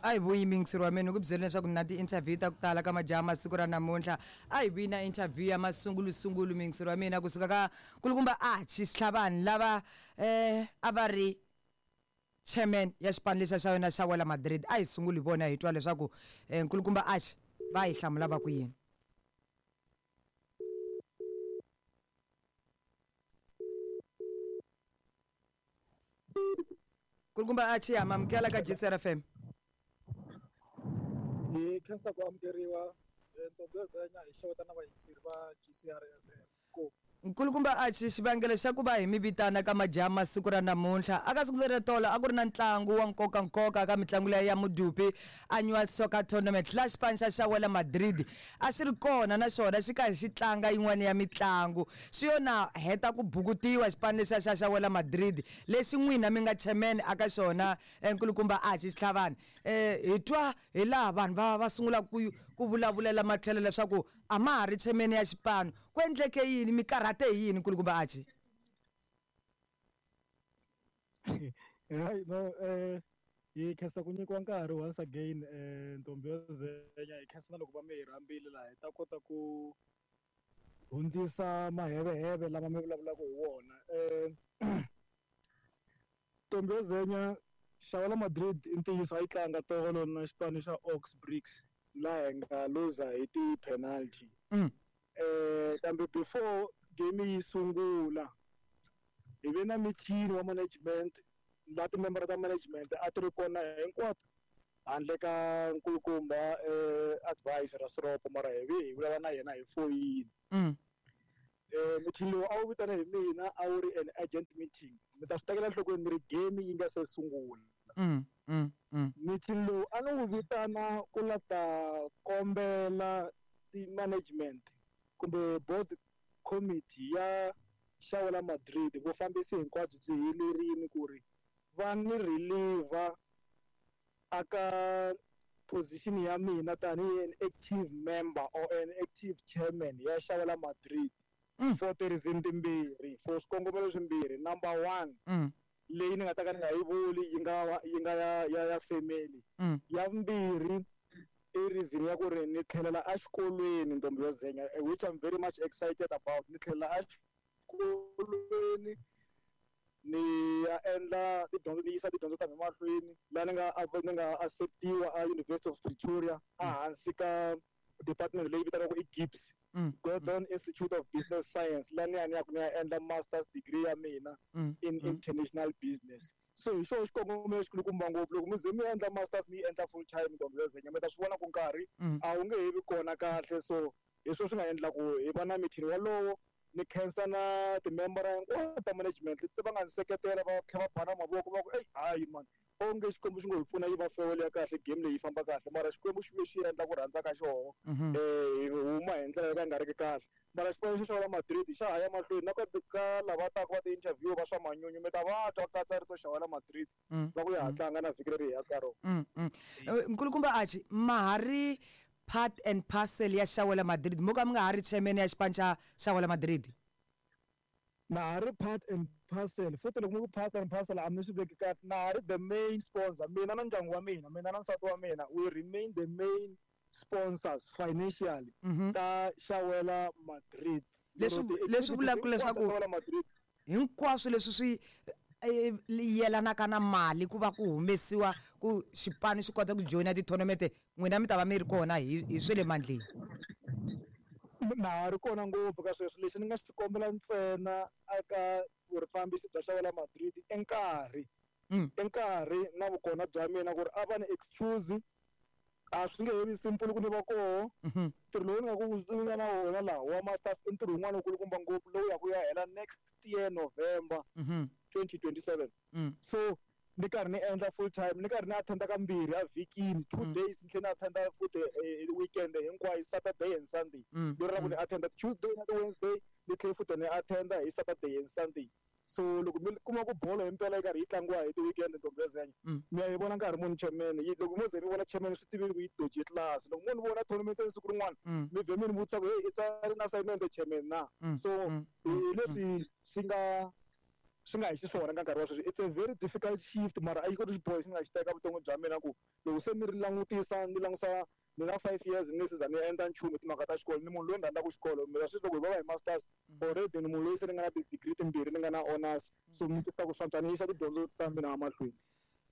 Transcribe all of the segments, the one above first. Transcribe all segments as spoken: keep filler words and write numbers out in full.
A hi vuyi miyingiseri wa mina ku byela leswaku na ti-interview ta ku tala ka majaha masiku ra namuntlha. A hi vuyi na interview ya masungulusungulu miyingiseri wa mina kusuka ka nkulukumba Archie Xitlhavani lava eh a va ri chairman ya xipano lexiya xa yona xa Wela Madrid. A hi sunguli hi vona hi twa leswaku eh, nkulukumba Archie va hi hlamula va ku yini. Nkulukumba Archie, ha mi amukela ka G C R F M. Hi khensa ku amukeriwa ntombi yo zenya hi xeweta na vayingiseri va G C R F M. Ku Nkulukumba Archie, xivangelo xa ku va hi mi vitana ka majaha masiku ra namuntlha aka siku leri tolo a ku ri na ntlangu wa nkoka nkoka ka mitlangu leya ya Mudupi Annual Soccer Tournament la xipano xa xa Wela Madrid a xi ri kona na xona xi karhi xi tlanga yin'wana ya mitlangu. Swi yo na heta ku bukutiwa xipano lexiya xa xa Wela Madrid lexi n'wina mi nga chairman aka xona nkulukumba Archie Xitlhavani. Eh hi twa hi laha vanhu va va sungula ku ku vulavulela matlhelo leswaku a ma ha ri chairman ya xipano. Ku endleke yini, mi karhate hi yini nkulukumba Archie? Hayi no, eh hi khensa ku nyikiwa nkarhi once again eh ntombi yo zenya hi khensa na loko va mi hi rhambile laha hi ta kota ku hundzisa maheveheve lama mi vulavulaka hi wona. Eh ntombi yo zenya Xawela Madrid i ntiyiso a yi tlanga tolo na xipano xa Ox Bricks laha hi nga luza hi ti-penalty. Mm. Eh kambe before game yi sungula hi ve na meeting wa management la timembara ta management a ti ri kona hinkwato handle ka nkulukumba eh advisor Rasiropo, mara hi ve hi vulavula na yena hi foyini. Mm. Eh meeting lowu a wu vitana hi mina a wu ri an urgent meeting. Mi ta swi tekela enhlokweni mi ri game yi nga se sungula. Mm, mm, mm. Meeting lowu a ni wu vitana ku la ta kombela ti-management kumbe board committee ya Xawela Madrid vufambisi hinkwabyo byi helerile ku ri va ni reliever aka position ya mina tanihi an active member or an active chairman ya Xawela Madrid. Mm. For ti-reason timbirhi, for swikongomelo swimbirhi. Number one, Mm. leyi ni nga ta ka ni nga yi vuli yi nga yi nga ya ya ya family. Mm. Ya vumbirhi i reason ya ku ri ni tlhelela exikolweni ntombi yo zenya, which I'm very much excited about. Ni tlhelela exikolweni ni ya endla tidyondzo, ni yisa tidyondzo ta mina mahlweni laha ni nga ni nga acceptiwa a University of Pretoria ehansi ka department leyi vitaniwaka i GIBS, Mm. Gordon Institute of Business Science, laha ni ya ni ya ku ni ya endla master's degree ya mina Mm. in Mm. international business. So hi xona xikongomelo xikulukumba ngopfu loko mi ze mi endla masters mi yi endla full time ntombi yo zenya mi ta swi vona ku nkarhi Mm. a wu nge he vi kona kahle. So hi swona swi nga endla ku hi va na meeting wolowo. Ni khensa na timembara hinkwato ta management leti va nga ni seketela va tlhela va bana mavoko va ku ey hayi man onge Xikwembu xi ngo hi pfuna yi va farewell ya kahle game leyi yi famba kahle, mara Xikwembu xi ve xi endla ku rhandza ka xona. Mhm. Eh hi huma hi ndlela yo ka yi nga ri ki kahle, mara xipano xa Xawela Madrid xa ha ya mahlweni na ka ka lava taka va ti-interview va swa manyunyu mi ta va twa katsa rito Xawela Madrid Mm. va ku ya ha Mm. tlanga na vhiki leri hi yaka ka rona. Mm, mm. Nkulukumba Archie, ma ha ri part and parcel ya Xawela Madrid mo ka mi nga ha ri chairman ya xipano xa Xawela Madrid? Na ha ri part and parcel, futhi loko mi ku part and parcel a mi swi veki kahle. Na ha ri the main sponsor, mina na ndyangu wa mina, mina na nsati wa mina, we remain the main sponsors financially Mhm. ta Xawela Madrid. Leswi Lero leswi vulaka ti-activities hinkwato ta leswaku Xawela Madrid hinkwaswo leswi swi eh, yelanaka na mali ku va ku humesiwa ku xipano xi kota ku joyina ti-tournament, n'wina mi ta va mi ri kona hi hi swe le mandleni. Na ha ri kona ngopfu ka sweswo. Lexi ni nga xi kombela ntsena eka vufambisi bya Xawela Madrid i nkarhi. Mm. I nkarhi na vukona bya mina ku ri a va ni excuse, a swi nge he vi simple ku ni va koho. Mhm. Ntirho lowu ni nga ku ni nga na wona laha wa masters i ntirho wun'wana wukulukumba ngopfu lowu ya ku ya hela next year November Mhm. twenty twenty-seven. Mm. So ni karhi ni endla full time, ni karhi ni attenda kambirhi a vhikini, two Mm. days ni tlhela ni attenda futhi eh, weekend hinkwayo, Saturday and Sunday. Mm. Lero ra ku Mm. ni attenda Tuesday na Wednesday, ni tlhela futhi ni attenda hi Saturday and Sunday. So loko mi kuma ku bolo himpela yi karhi yi tlangiwa hi ti-weekend ntombi yo zenya, Mm. mi ya yi vona nkarhi muni chairman. Yi loko mo ze mi vona chairman swi tivile ku yi doje class. Loko mo ni vona tournament siku rin'wana, Mm. mi vhe mi ni vutisa ku hey i tsari na assignment chairman na. Mm. So Mm. hi Mm. leswi swi nga swi nga hi xiswona ka nkarhi wa sweswi. It's a very difficult shift, mara a yi koti xiboho xi nga xi teka vuton'wini bya mina ku loko se ni ri langutisa ni langusa ni na five years ni se za ni endla nchumu hi timhaka ta xikolo. Ni munhu loyi ni rhandzaka xikolo, mina sweswi loko hi va va hi masters already ni munhu loyi se ni nga na ti-degree timbirhi, ni nga na honors, so ni titwa ku swantswa ni yisa tidyondzo ta mina emahlweni.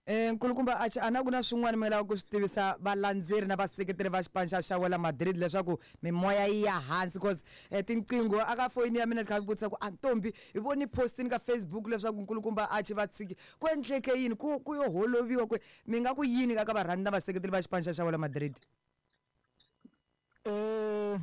Eh nkulukumba Archie, a na ku na swin'wana mi lava ku swi tivisa valandzeri na vaseketeri va xipano xa Xawela Madrid leswaku mimoya yi ya hansi, cause eh, tinqingho aka foyini ya mina ti kha vutisa ku a ntombi hi voni postini ka Facebook leswaku nkulukumba Archie va tshiki, ku endleke yini, ku ku yo holoviwa ku mi nga ku yini ka ka varhandzi na vaseketeri va xipano xa Xawela Madrid? Eh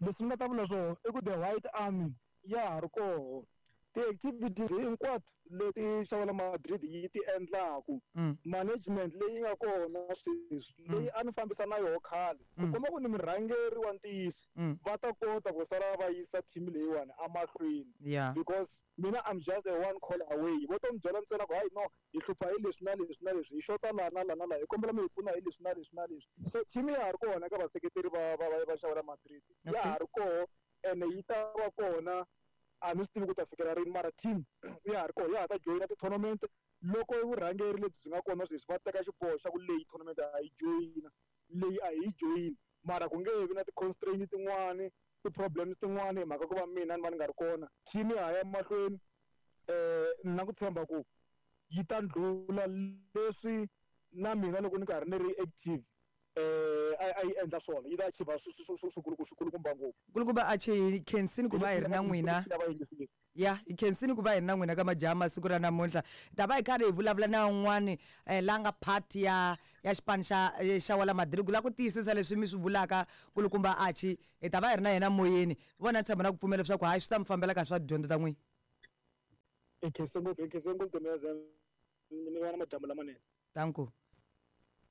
leswi ni nga ta vula swona i ku the White Army ya ha ri koho, ti-activities hinkwato leti Xawela Madrid yi ti endlaku, Mm. management leyi nga kona sweswi leyi a ni fambisa na yoho khale ku Mm. komba ku ni murhangeri wa ntiyiso, Mm. va ta kota ku sala va yisa team leyiwani emahlweni. Yeah. Because mina I'm just a one call away, vo to mi byela ntsena ku hayi no, hi hlupha hi leswi na leswi na leswi, hi xota laha na laha na laha, hi kombela mi hi pfuna hi leswi na leswi na leswi. So team ya ha ri kona eka vaseketeri va va va va Xawela Madrid, ya Okay. ha ri koho ene yi ta va kona, a ni swi tivi ku ta fikela rini, mara team ya ha ri koho, ya ha ta joyina ti-tournament loko vurhangeri lebyi byi nga kona sweswi va teka xiboho xa ku leyi tournament a yi joyina, leyi a hi yi joyini, mara ku nge vi na ti-constraint tin'wani, ti-problems tin'wani hi mhaka ku va mina ni va ni nga ri kona. Team ya ha ya mahlweni, eh ni na ku tshemba ku yi ta ndlhula leswi na mina loko ni karhi ni ri active eh a a yi endla swona, yi ta achieve swikulukumba ngopfu. Nkulukumba Archie, hi khensini ku va hi ri na n'wina. Ya, hi khensini ku va hi ri na n'wina ka majaha masiku ra namuntlha. Ta va hi karhi hi vulavula na un'wani eh, la nga part ya ya xipano xa eh, Xawela Madrid, ku lava ku tiyisisa leswi mi swi vulaka. Nkulukumba Archie, hi ta va hi ri na yena moyeni, vona tshemba na ku pfumela leswaku hayi swi ta mi fambela kahle swa tidyondzo ta n'wina. Hi khense ngopfu, hi khense ngopfu, Dumeza, ni va na madyambu lamanene. Danko.